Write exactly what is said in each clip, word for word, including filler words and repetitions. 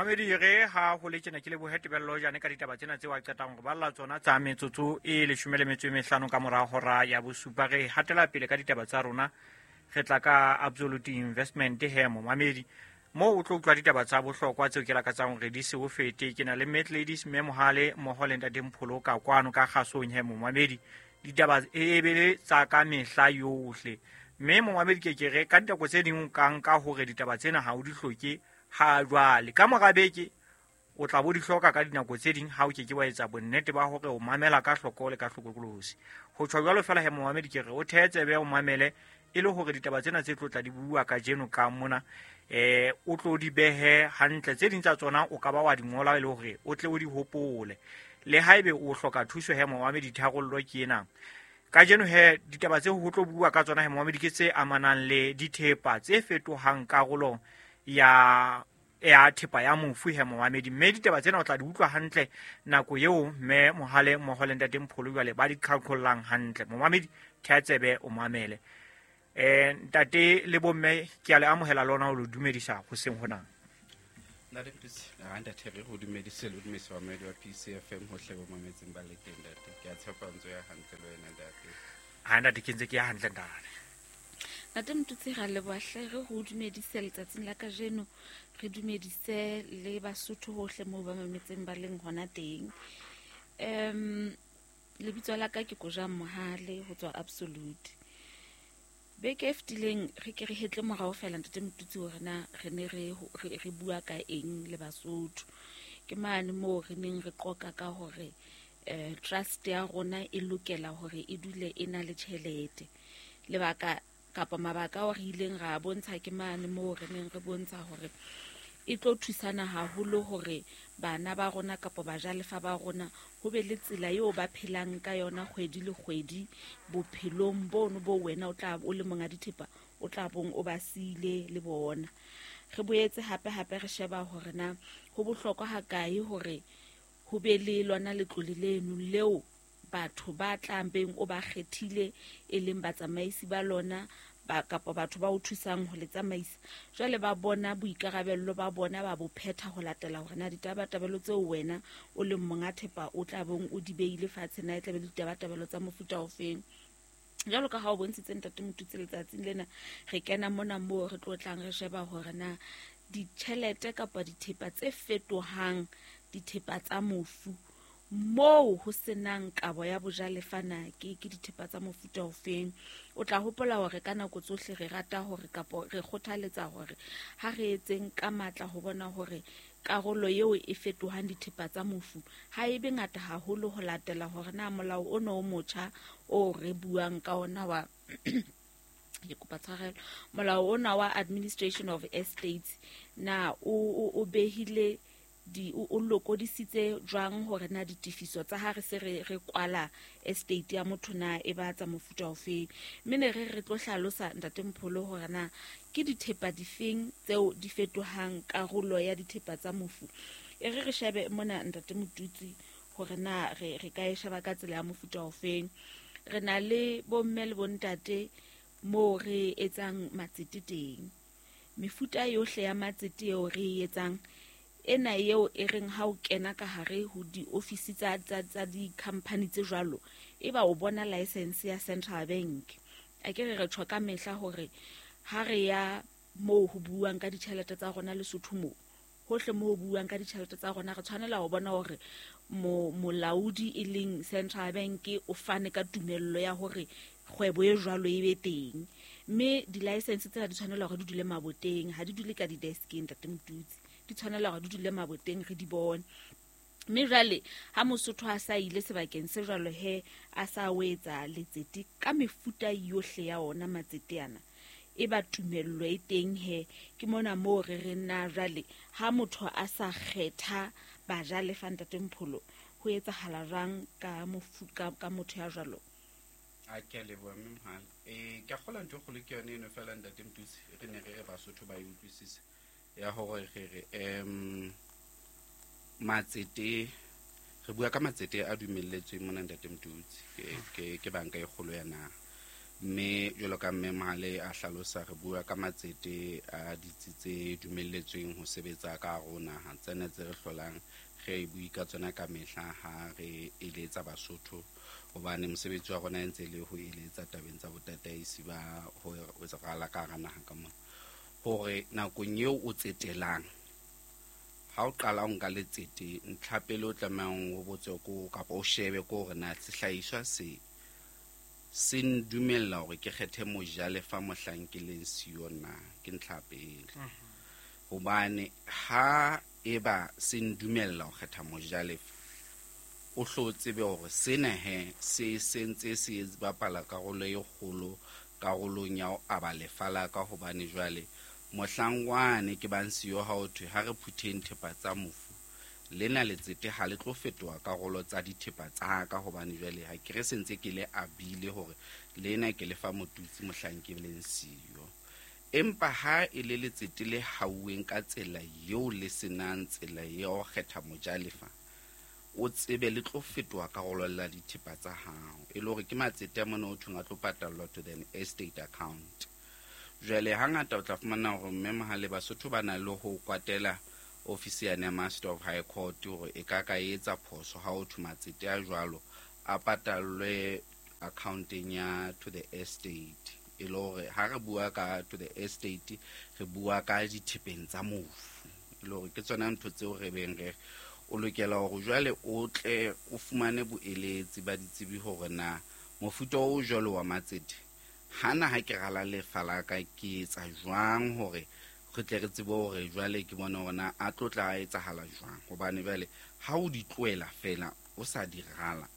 Mamedi re ha ho le tjena ke lebohe Tebello jane ka ditaba tsena tseo a qetang ho balla tsona tsa metsotso e leshome le metso e mehlano ka mora hora ya bosupa. Re hatela pele ka ditaba tsa rona, re tla ka Absolute Investment he momamedi, moo o tlo utlwa ditaba tsa bohlokwa tseo ke lakatsang hore di se o fete. Ke na le Mad Ladies Mme Mohale mmoho le Ntate Mpholo ka kwano ka kgasong he momamedi. Ditaba e be le tsa ka mehla yohle, mme momamedi ke ke re ka dinako tse ding o ka nka hore ditaba tsena ha o di hloke ha jwale, ka mora beke o tla bo di hloka ka dinako tse ding ha o ke ke wa etsa bonnete ba hore o mamela ka hloko le ka hlokolosi. Ho tjho jwalo fela he momamedi ke re o thehe tsebe o mamele e le hore ditaba tsena tse tlo tla di bua kajeno ka mona eh o tlo di behe hantle. Tse ding tsa tsona o ka ba wa di ngola e le hore o tle o di hopole. Le haebe o hloka thuso he momamedi, tharollo ke ena. Kajeno he ditaba tse ho tlo bua ka tsona he momamedi ke tse amanang le dithepa tse fetohang karolo ya ya thepa ya mofu he momamedi. Mme ditaba tsena o tla di utlwa hantle nako eo mme Mohale mmoho le Ntate Mpholo jwale ba di qhaqhollang hantle. Momamedi theha tsebe o mamele. Eh ntate le bomme ke a le amohela lona o le dumedisa hoseng hona. Ntate Mpholo, ha ntate re go dumedise le dumedisa bamamedi ba P C F M hohle bo mametseng ba le teng ntate. Ke a tshepa ntso ya hantle le wena ntate. Ha ntate ke ntse ke ya hantle ntate. Ntate Motutsi ra leboha hle, re go dumedise letsatsing la kajeno, re dumedise le Basotho hohle moo ba mametseng ba leng hona teng. Um lebitso la ka ke Kojang Mohale ho tswa Absolute. Beke e fetileng re ke re hetle morao fela Ntate Motutsi hore na re ne re, re, re bua ka eng le Basotho. Ke mane moo re neng re qoqa ka hore eh trust ya rona e lokela hore e dule e na le tjhelete. Lebaka kapa mabaka ao re ileng ra bontsha ke mane moo re neng re bontsha hore e tlo thusana haholo hore bana ba rona kapa bajalefa ba rona ho be le tsela eo ba phelang ka yona kgwedi le kgwedi bophelong bono bo wena o tla o le monga dithepa o tla bong o ba siile le bona. Re boetse hape hape re sheba hore na ho bohlokwa hakae hore ho be le lona letlole leno leo batho ba tlang beng o ba kgethile e leng batsamaisi ba lona ba kapa batho ba o thusang ho le tsamaisa. Jwale ba bona boikarabello ba bona ba bo phetha ho latela hore na ditabatabelo tseo wena o leng monga thepa o tla bong o di beile fatshe na e tla be le ditabatabelo tsa mofuta ofeng. Jwalo ka ha o bontshitse Ntate Motutsi letsatsing lena, re kena mona moo re tlo tlang re sheba hore na ditjhelete kapa dithepa tse fetohang dithepa tsa mofu moo ho senang kabo ya bojalefa na ke ke dithepa tsa mofuta ofeng. O tla hopola hore ka nako tsohle re rata hore kapa re kgothaletsa hore ha re etseng ka matla ho bona hore karolo eo e fetohang dithepa tsa mofu ha e be ngata haholo ho latela hore na molao ono o motjha o re buang ka ona wa ke kopa tshwarelo, molao ona wa Administration of Estates na o o behile di o lokodisitse jwang hore na ditefiso tsa ha re se re re kwala estate ya motho na e ba tsa mofuta ofeng. Mme ne re re tlo hlalosa Ntate Mpholo hore na ke dithepa difeng tseo di fetohang karolo ya dithepa tsa mofu. E re re shebe mona Ntate Motutsi hore na re re ka e sheba ka tsela ya mofuta ofeng. Re na le bomme le bontate moo re etsang matsete teng. Mefuta yohle ya matsete eo re e etsang ena eo e reng ha o kena ka hare ho di-office tsa tsa tsa di-company tse jwalo, e ba o bona license ya Central Bank. A ke re re tjho ka mehla hore ha re ya moo ho buang ka ditjhelete tsa rona Lesotho moo, hohle moo ho buang ka ditjhelete tsa rona re tshwanela ho bona hore mo molaodi e leng Central Bank o fane ka tumello ya hore kgwebo e jwalo e be teng. Mme di-license tsena di tshwanela hore di dule maboteng, ha di dule ka di-deskeng Ntate Motutsi, di tshwanela hore di dule maboteng re di bone. Mme jwale ha Mosotho a sa ile sebakeng se jwalo he a sa o etsa letsete ka mefuta yohle ya ona matsete ana, e ba tumello e teng he. Ke mona moo re re na jwale ha motho a sa kgetha bajalefa Ntate Mpholo, ho etsahala jwang ka mofu ka, ka motho ya jwalo? A ke a leboha mme Mohale. Eh ke a kgolwa ntho e kgolo ke yone eno fela Ntate Motutsi, re ne re re Basotho ba e utlwisise ya hore re re em matsete, re bua ka matsete a dumelletsweng mona Ntate Motutsi ke ke ke banka e kgolo ya naha. Mme jwalo ka mme Mohale a hlalosa, re bua ka matsete a ditsi tse dumelletsweng ho sebetsa ka hare ho naha, tsena tse re hlolang re bue ka tsona ka mehla ha re eletsa Basotho, hobane mosebetsi wa rona e ntse le ho eletsa tabeng tsa botataisi ba ho rala ka hara naha ka mona. Hore nakong eo o tsetelang, ha o qala o nka letsete, ntlha pele o tlamehang o botse ko kapa o shebe ko hore na sehlahiswa se se ndumella hore ke kgethe mojalefa mohlang ke leng siyo na, ke ntlha pele. Hobane ha eba se ndumella ho kgetha mojalefa, o hlo tsebe hore sena he se sentse se bapala karolo e kgolo karolong ya ho aba lefa la ka, hobane jwale mohlang wane ke bang siyo ha ho thwe ha re phutheng thepa tsa mofu, lena letsete ha le tlo fetoha karolo tsa dithepa tsa ka, hobane jwale ha ke re sentse ke le abile hore lena ke lefa motutsi mohlang ke leng siyo. Empa ha e le letsete le hauweng ka tsela eo le senang tsela ya ho kgetha mojalefa, o tsebe le tlo fetoha karolo la dithepa tsa hao, e le hore ke matsete a mona o thweng a tlo patallwa to the estate account. Jwale hangata o tla fumana hore mme Mohale Basotho ba na le ho kwatela ofisi ya Master of High Court hore e ka ka etsa phoso ha o thwe matsete a jwalo a patallwe accounteng ya to the estate. E le hore ha re bua ka to the estate, re bua ka dithepeng tsa mofu, e le hore ke tsona ntho tseo re beng re o lokela hore jwale o tle o fumane boeletsi ba ditsebi hore na mofuta o jwalo wa matsete hana ha ke rala lefa la ka ke etsa jwang hore re tle re tsebe hore jwale ke bone hore na a tlo tla etsahala jwang. Hobane jwale ha o di tlohela fela o sa di rala,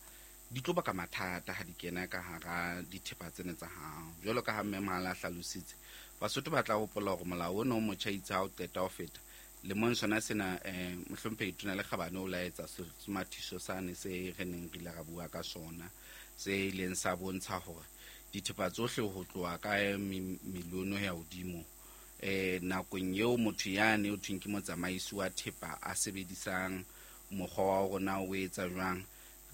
di tlo baka mathata ha di kena ka hara dithepa tsena tsa hao. Jwalo ka ha mme Mohale a hlalositse, Basotho ba tla hopola hore molao ona o motjha itse ha o qeta ho feta lemong sona sena, eh mohlomphehi Tona Lekgabane o laetsa semathiso sane se re neng re ile ra bua ka sona, se ileng sa bontsha hore dithepa tsohle ho tloha ka milione ho ya hodimo, eh nakong eo motho yane o thweng ke motsamaisi wa thepa a sebedisang mokgwa wa rona o etsa jwang,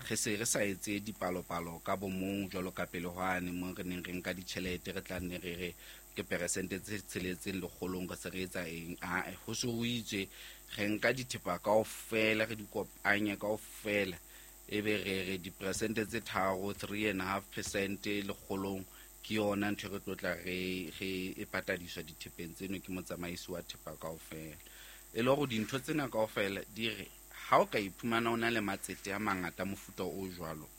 re se re sa etse dipalopalo ka bomong jwalo ka pele hwane mo re neng re nka ditjhelete re tla nne re re ke peresente tse tsheletseng lekgolong re se re etsa eng. Ae, ho se ho itswe re nka dithepa kaofela re di kopanye kaofela, ebe re re diperesente tse tharo, three and a half percent lekgolong ke yona ntho e re tlo tla re re e patadiswa dithepeng tseno ke motsamaisi wa thepa kaofela. E le hore dintho tsena kaofela di re ha o ka iphumana o na le matsete a mangata mofuta o jwalo,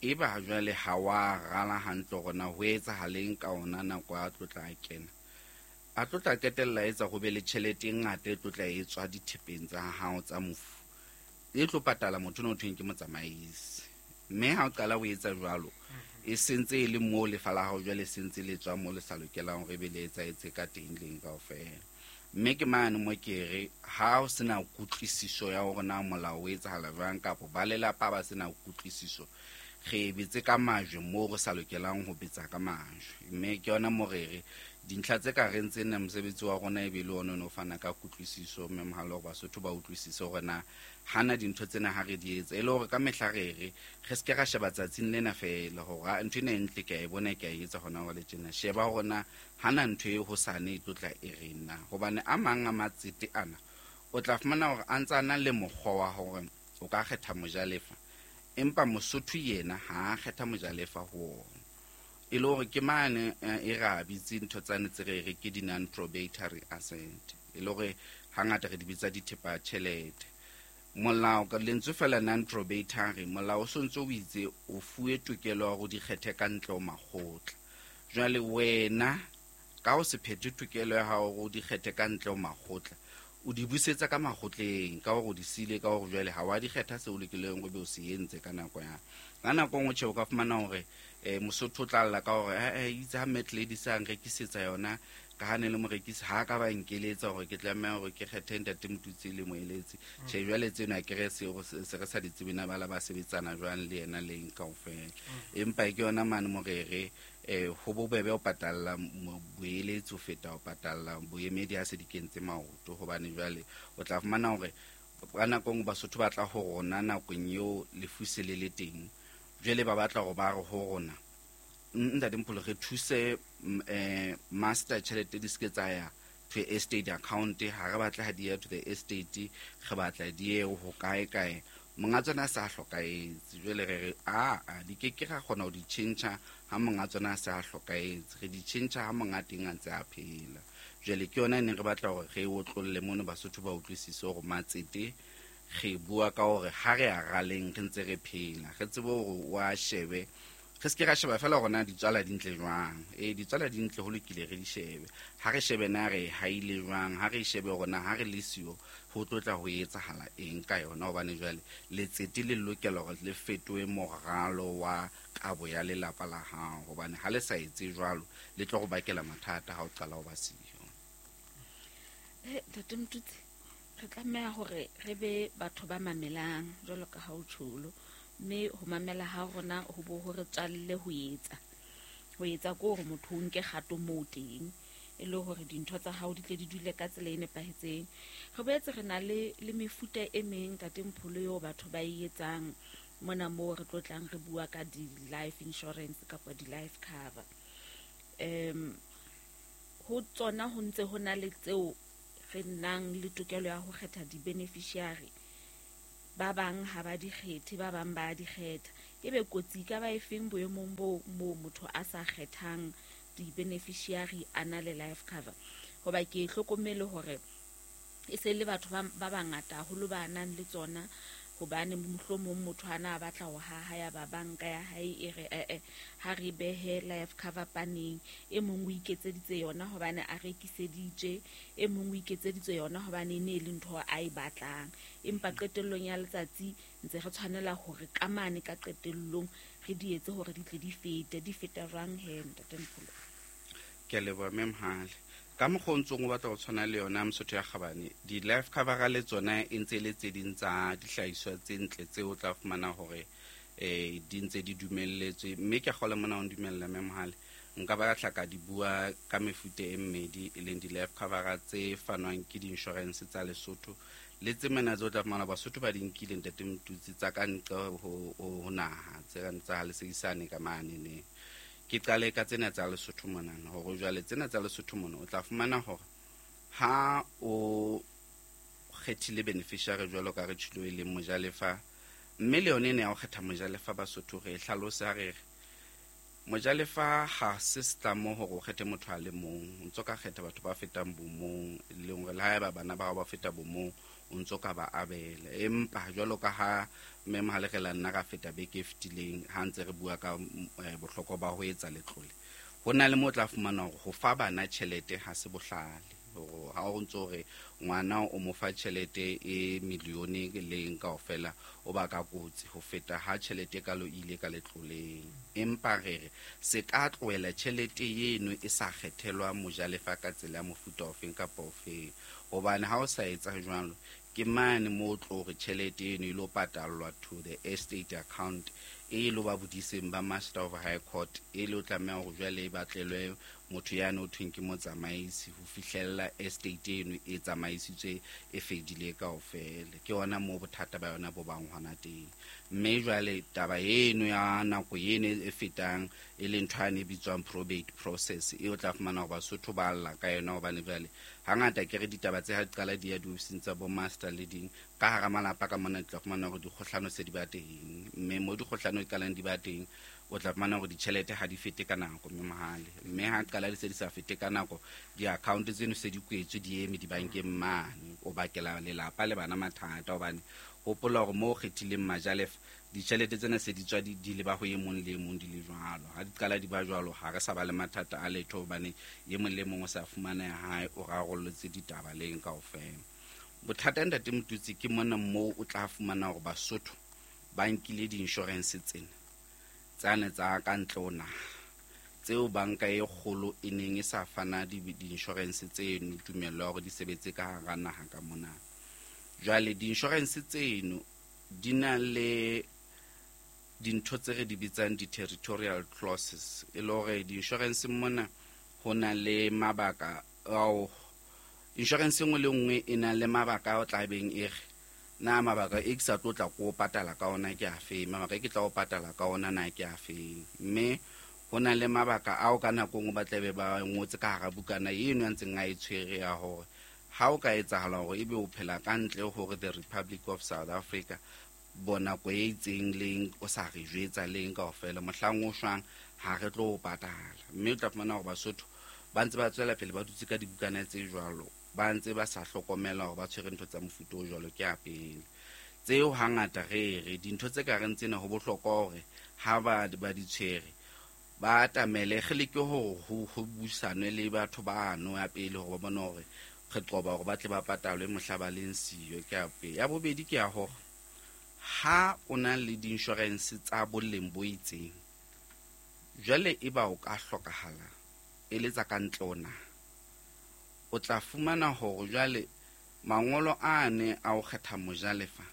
eba jwale ha wa rala hantle hore na ho etsahaleng ka ona nako a tlo tla kena, a tlo tla qetella etsa ho be le tjhelete e ngata e tlo tla e tswa dithepeng tsa hao tsa mofu, e tlo patala motho ono thweng ke motsamaisi. Mme ha o qala ho etsa jwalo, e sentse e le moo lefa la hao jwale sentse le tswa moo le sa lokelang hore ebe le etsahetse ka teng leng kaofela. Mme ke mane mo ke re ha o sena kutlwisiso ya hore na molao o etsahala jwang, kapa ba lelapa ba sena kutlwisiso, re betse ka majwe moo re sa lokelang ho betsa ka majwe. Mme ke yona mo re re dintlha tse ka reng tsena mosebetsi wa rona e be le ona o fana ka kutlwisiso, mme Mohale hore Basotho ba utlwisise hore na hana dintho tsena ha re di etsa, e le hore ka mehla re re re se ke ra sheba tsatsing lena feela hore ntho ena e ntle ke a e bona ke a e etsa hona jwale tjena. Sheba hore na hana ntho e hosane e tlo tla e reng na, hobane a mang a matsete ana o tla fumana hore a ntse a na le mokgwa wa hore o ka kgetha mojalefa, empa Mosotho yena ha a kgetha mojalefa ho ona. E le hore ke mane e ra bitse ntho tsane tse re re ke di non-probatory asset, e le hore hangata re di bitsa dithepa tjhelete. Molao ka lentswe fela non-probatory, molao o sontso o itse o fuwe tokelo ya hore di kgethe ka ntle ho makgotla. Jwale wena ka o se phethe tokelo ya hao hore o di kgethe ka ntle ho makgotla, o di busetsa ka makgotleng ka hore o di sile, ka hore jwale ha wa di kgetha seo o lokileng o be o se entse ka nako ya ka nako nngwe. Tjhe, o ka fumana hore eh Mosotho o tla lla ka hore eh itse ha Mat Ladies a nrekisetsa yona, ka ha ne le morekisi ha ka ba nkeletsa hore ke tlameha hore ke kgethe ntate Motutsi le moeletsi. Tjhe, jwale tsena ke re se se re sa di tsebe na bala ba sebetsana jwang le yena leng kaofela. Empa ke yona mane morere eh ho bobebe ho patalla boeletsi ho feta ho patalla boemedi ha se di kentse maoto, hobane jwale o tla fumana hore ka nako nngwe Basotho ba tla ho rona nakong eo lefu se le le teng, jwale ba batla hore ba re ho rona Ntate Mpholo, re thuse eh master tjhelete di se tsa ya to estate account, ha re batla ha di ya to the estate, re batla di ye ho kae kae, monga tsona a sa hlokahetse. Jwale re re a a di ke ke ra kgona ho di tjhentjha ha monga tsona a sa hlokahetse, re di tjhentjha ha monga teng a ntse a phela. Jwale ke yona e neng re batla hore re otlolle mono Basotho ba utlwisise hore matsete re bua ka hore ha re a raleng re ntse re phela, re tsebe hore wa shebe, re se ke ra sheba fela hore na ditswala di ntle jwang. Ee, ditswala di ntle, ho lokile, re di shebe. Ha re shebe na re haile jwang, ha re shebe hore na ha re le siyo ho tlo tla ho etsahala eng ka yona, hobane jwale letsete le lokela hore le fetohe moralo wa kabo ya lelapa la hao, hobane ha le sa etse jwalo le tlo go bakela mathata ha o qala ho ba siyo. Eh, Ntate Motutsi, re tlameha hore re be batho ba mamelang jwalo ka ha o tjholo, mme ho mamela ha rona ho bo ho re tswalle ho etsa. Ho etsa ke hore motho o nke kgato moo teng, e le hore dintho tsa hao di tle di dule ka tsela e nepahetseng. Re boetse re na le, le mefuta e meng, Ntate Mpholo, eo batho ba e etsang mona moo re tlo tlang re bua ka di-life insurance kapa di-life cover. Um, ho tsona ho ntse ho na le tseo re nang le tokelo ya ho kgetha di-beneficiary. Ba bang ha ba di kgethe, ba bang ba di kgetha. Ebe kotsi ka ba efeng boemong bo moo motho a sa kgethang di-beneficiary a na le life cover? Hoba ke hlokomele hore e se le batho ba, ba bangata haholo ba nang le tsona, hobane mohlomong motho a na batla ho haha ya ba banka ya hae e re eh eh ha re behe life cover paneng. E mong o iketseditse yona hobane a rekiseditswe, e mong o iketseditse yona hobane e ne e le ntho a e batlang. Empa qetellong ya letsatsi ntse re tshwanela hore ka mane ka qetellong re di etse hore di tle di fete. Di feta jwang he, Ntate Mpholo? Ke a leboha, Mme Mohale. Ka mokgwa o ntsong o batla ho tshwana le yona Mosotho ya Kgabane, di-life cover le tsona e ntse e le tse ding tsa dihlahiswa tse ntle tseo o tla fumana hore eh di ntse di dumelletswe. Mme ke a kgolwa mona o ndumella, Mme Mohale, nka batla ka di bua ka mefuta e mmedi, e leng di-life cover tse fanwang ke di-insurance tsa Lesotho le tse mena tse o tla fumana Basotho ba di nkile, Ntate Motutsi, tsa ka ntle ho, ho, ho naha, tse kang tsa Leseisane ka mane ne. Ke qale ka tsena tsa Lesotho monana, hore jwale tsena tsa Lesotho mona o tla fumana hore ha o kgethile beneficiary jwalo ka re tjhilo e leng mojalefa, mme le yone ena ya ho kgetha mojalefa Basotho re e hlalosa re re mojalefa ha se setlamo hore o kgethe motho a le mong, o ntso ka kgetha batho ba fetang bomong, e leng hore le haeba bana ba hao ba feta bomong o ntso ka ba abela. Empa jwalo ka ha Mme Mohale re la nna ra feta beke e fetileng ha ntse re bua ka, eh, bohlokwa ba ho etsa letlole, ho na le mo tla fumana hore ho fa bana tjhelete ha se bohlale. Hore ha o ntso re ngwana o mo fa tjhelete e milione leng kaofela, o ba ka kotsi ho feta ha tjhelete kalo ile ka letloleng. Empa re re se ka tlohela tjhelete eno e sa kgethelwa mojalefa ka tsela ya mofuta ofeng kapa ofeng, hobane ha o sa etsa jwalo ke mane mo tlo re tjhelete eno e lo patallwa to the estate account e lo ba bodiseng ba Master of High Court, e lo tlameha hore jwale e batlelwe motho yane o thweng ke motsamaisi ho fihlella estate eno e tsamaisitswe e fedile kaofela. Ke hona moo bothata ba yona bo bang hona teng. Mme jwale taba eno ya nako eno e fetang e leng ntho yane e bitswang probate process, e o tla fumana hore Basotho ba lla ka yona, hobane jwale hangata ke re ditaba tse ha di qala di ya diofising tsa bo master le ding ka hara malapa ka mona, di tla fumana hore dikgohlano se di ba teng, mme mo dikgohlano di qalang di ba teng o tla fumana hore ditjhelete ha di fete ka nako, mme Mohale. Mme ha qala di se di sa fete ka nako, di-account tseno se di kwetswe di eme dibankeng mane, o bakela lelapa le bana mathata, hobane hopola hore moo o kgethileng majalefa ditjhelete tsena se di tswa di, di leba ho e mong le e mong di le jwalo. Ha di qala di ba jwalo, ha re sa ba le mathata a letho, hobane e mong le mong o sa fumana ya hae, o rarollotse ditaba leng kaofela. Bothata, Ntate Motutsi, ke mona moo o tla fumana hore Basotho ba nkile di-insurance tsena tsane tsa ka ntle ho naha, tseo banka e kgolo e neng e sa fana di-, di-insurance tseno tumello ya hore di sebetse ka hara naha ka mona. Jwale di-insurance tseno di na le dintho tse re di bitsang di-territorial clauses, e le hore di-insurance mona ho na le mabaka ao insurance e nngwe le nngwe e na le mabaka ao tla beng e re na mabaka e ke sa tlo tla ko patala ka ona ke a feng, mabaka e ke tla o patala ka ona na ke a feng. Mme Ho na le mabaka ao ka nako nngwe ba tlabe ba ngotse ka hara bukana eno ya ntseng a e tshwere ya hore ha o ka etsahala hore ebe o phela ka ntle hore the Republic of South Africa bo nako e itseng leng o sa re jwetsa leng kaofela mohlang o shwang ha re tlo o patala. Mme o tla fumana hore Basotho ba ntse ba tswela pele ba dutse ka dibukana tse jwalo, ba ntse ba sa hlokomela hore ba tshwere ntho tsa mofuta o jwalo. Ke ya pele tseo hangata re re dintho tse ka reng tsena ho bohlokwa hore ha ba ba di tshwere ba atamele re leke hore ho ho buisanwe le batho bano ya pele hore ba bone hore re qoba hore ba tle ba patalwe mohla ba leng siyo. Ke ya pele. Ya bobedi ke ya hore ha o na le di-insurance tsa boleng bo itseng, jwale e ba o ka hlokahala e le tsa ka ntle ho naha, o tla fumana hore jwale mangolo ane a o kgetha mojalefa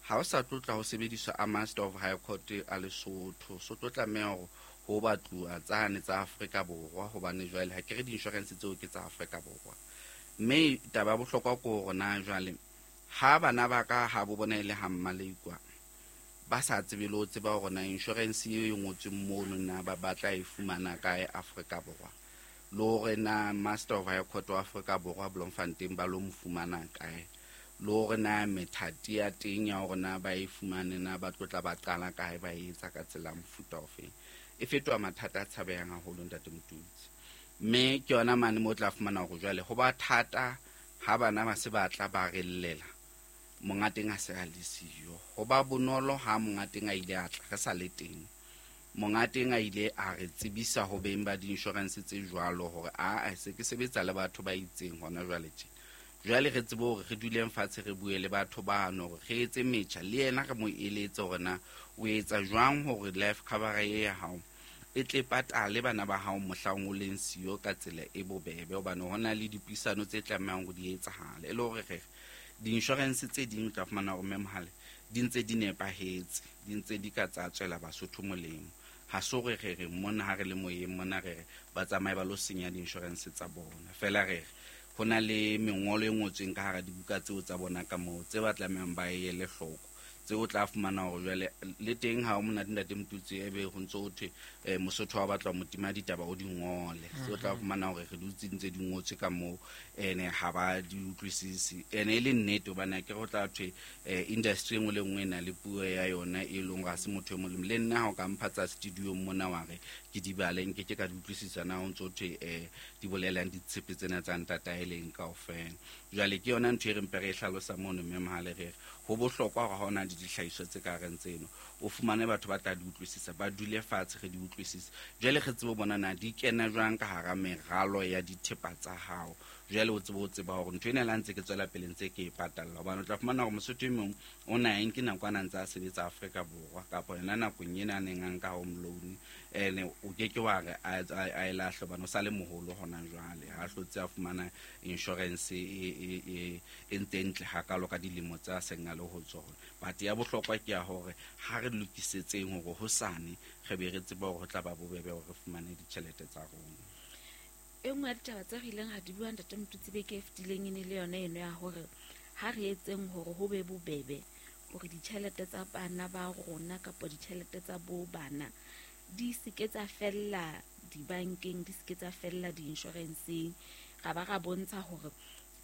ha o sa tlo tla ho sebediswa a Master of High Court a Lesotho, so tlo tlameha hore ho batluwa tsane tsa Afrika Borwa, hobane jwale ha ke re di-insurance tseo ke tsa Afrika Borwa. Mme taba ya bohlokwa ke hore na jwale ha bana ba ka ha bo bona e le ha Mmaleikwa ba sa tsebe le ho tseba hore na insurance eo e ngotsweng mono na ba batla e fumana kae Afrika Borwa, le hore na Master of High Court wa Afrika Borwa Bloemfontein ba lo mo fumana kae, le hore na methati ya teng ya hore na ba e fumane na ba tlo tla ba qala kae ba e etsa ka tsela mofuta ofeng. E fetoha mathata a tshabehang haholo ntate Motutsi. Mme ke yona mane mo tla fumana hore jwale ho ba thata ha bana ba se ba tla ba re llela monga teng a se a le siyo. Ho ba bonolo ha monga teng a ile a tla re sa le teng, monga teng a ile a re tsebisa ho beng ba di-insurance tse jwalo hore a a se ke sebetsa le batho ba itseng hona jwale tje. Jwale re tsebe hore re duleng fatshe re bue le batho bano hore re etse metjha le yena re mo eletse hore na o etsa jwang hore life cover e ya hao e tle patale bana ba hao mohlang o leng siyo ka tsela e bobebe, hobane ho na le dipuisano tse tlamehang ho di etsahale. E le hore re di-insurance tse ding o tla fumana hore Mme di ntse di nepahetse, di ntse di ka tsa tswela Basotho molemo. Ha se hore re re mona ha re le moyeng mona re re ba tsamaye ba lo senya di-insurance tsa bona, feela re re ho na le mengolo e ngotsweng ka hara dibuka tseo tsa bona ka moo tse ba tlamehang ba e ele hloko, tseo o tla fumana hore jwale le teng ha o monate ntate Motutsi ebe ho ntso ho thwe mosotho wa batla ho motima ditaba o di ngole, tseo o tla fumana hore re dutse ntse di ngotswe ka moo ene ha ba di utlwisise. Ene e le nnete hobane akere ho tla thwe industry e nngwe le nngwe e na le puo ya yona e leng hore ha se motho e mong le mong. Le nna ha o ka mpha tsa studio mona wa re ke di bale nke ke ka di utlwisisa na ho ntso thwe di bolelang ditshepe tsena tsa ntataeleng kaofela. Jwale ke yona ntho e re mpe re e hlalosa mono mme Mohale re re ho bohlokwa hore ha o na le dihlahiswa tse ka reng tseno o fumane batho ba tla di utlwisisa, ba dule fatshe re di utlwisise, jwale re tsebe ho bona na di kena jwang ka hara meralo ya dithepa tsa hao. Jwale o tsebe ho tseba hore ntho ena le ha ntse ke tswela pele ntse ke e patalla, hobane o tla fumana hore Mosotho e mong o na e nke nako a na ntse a sebetsa Afrika Borwa kapa yona nakong ena a neng a nka home loan, ene o ke ke wa re a e lahle hobane o sa le moholo hona jwale, ha hlotse a fumana insurance e e e ntse ntle hakalo ka dilemo tsa seng a le ho tsona. But ya bohlokwa ke ya hore ha re lokisetseng hore hosane re be re tsebe hore ho tla ba bobebe hore re fumane ditjhelete tsa rona. E nngwe ya ditaba tse re ileng ra di bua ntate Motutsi beke e fetileng e ne le yona eno ya hore ha re etseng hore ho be bobebe hore ditjhelete tsa bana ba rona kapa ditjhelete tsa bo bana di se ke tsa fella dibankeng, di se ke tsa fella di-insurance-eng. Ra ba ra bontsha hore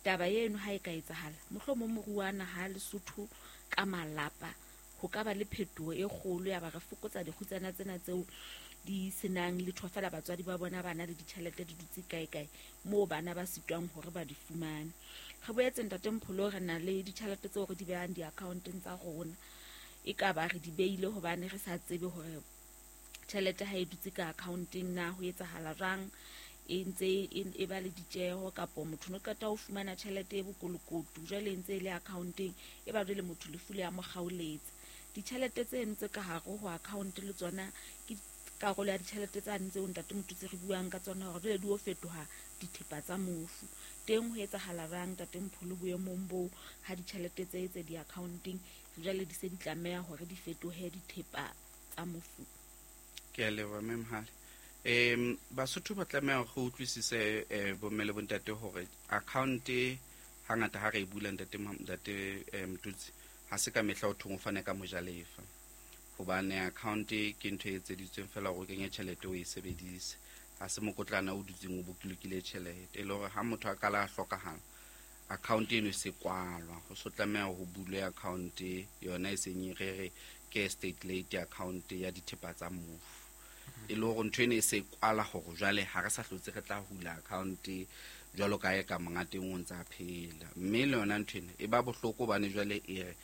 taba eno ha e ka etsahala mohlomong moruo wa naha Lesotho ka malapa ho ka ba le phetoho e kgolo ya ba re fokotsa dikgutsana tsena tseo di senang letho fela batswadi ba bona ba na le ditjhelete di dutse kae kae moo bana ba sitwang hore ba di fumane. Re boetse ntate Mpholo re na le ditjhelete tseo re di behang di-accounteng tsa rona, e ka ba re di beile hobane re sa tsebe hore tjhelete ha e dutse ka accounteng na ho etsahala jwang, e ntse e ba le ditjeho kapo motho no qeta ho fumana tjhelete e bokolokotu jwale e ntse e le accounteng e ba jwale motho lefu le ya mo kgaoletsa. Ditjhelete tseno tse ka hare ho account le tsona ke karolo ya ditjhelete tsane tseo ntate Motutsi re buang ka tsona hore jwale di o fetoha dithepa tsa mofu. Teng ho etsahala jwang ntate Mpholo boemong boo ha ditjhelete tse tse di-accounteng jwale di se di tlameha hore di fetohe dithepa tsa mofu? Ke a leboha mme Mohale. Um Basotho ba tlameha hore re utlwisise bomme le bontate hore account hangata ha re e bula ntate ntate Motutsi ha se ka mehla o thong o fane ka mojalefa. Hobane account ke ntho e etseditsweng fela hore o kenye tjhelete o e sebedise. Ha se mokotlana o dutseng o bolokile tjhelete. E le hore ha motho a kala a hlokahala, account eno e se kwalwa. Ho so tlameha ho bulwe account yona e seng e re re ke estate late account ya dithepa tsa mofu. E le hore ntho eno e se kwala hore jwale ha re sa hlotse re tla hula account jwalo ka e ka monga teng o ntsa phela. Mme le yona ntho ena e ba bohloko hobane jwale e re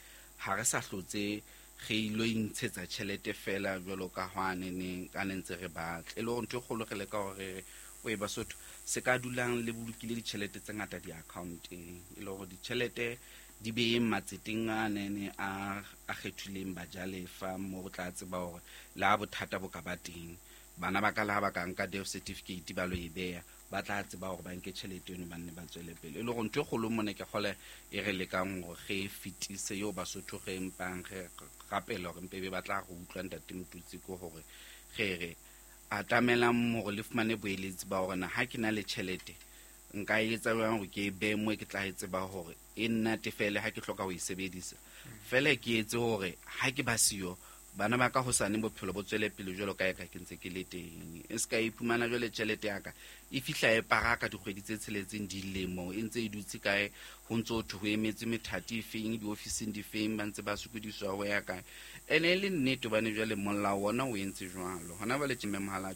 ha re sa hlotse re ilo intshetsa tjhelete fela jwalo ka hwane neng ka ne ntse re batla. E le hore ntho e kgolo re leka hore re re oe Basotho se ka dulang le bolokile ditjhelete tse ngata di-account-eng. E le hore ditjhelete di beyeng matseteng a nene a a kgethileng bajalefa mo re tla tseba hore le ha bothata bo ka ba teng, bana ba ka le ha ba ka nka death certificate ba lo e beha, ba tla tseba hore ba nke tjhelete eno ba nne ba tswele pele. E le hore ntho e kgolo mona ke kgole e re lekang hore re e fetise eo Basotho re mpang re rapela hore mpe be ba tla re utlwa Ntate Motutsi, ke hore re re atamelang hore le fumane boeletsi ba hore na ha ke na le tjhelete nka e etsa jwang hore ke e behe moo ke tla e tseba hore e nnatefele ha ke hloka ho e sebedisa. Feela ke etse hore ha ke ba siyo bana ba ka hosane bophelo bo tswele pele jwalo ka eka ke ntse ke le teng. E se ka iphumana jwale tjhelete ya ka e fihla e paraka dikgwedi tse tsheletseng dilemo e ntse e dutse kae, ho ntso ho thwe ho emetse methati e feng diofising difeng ba ntse ba sokodiswa ho ya kae. Ene e le nnete hobane jwale molao ona o entse jwalo. Hona jwale tje Mme Mohala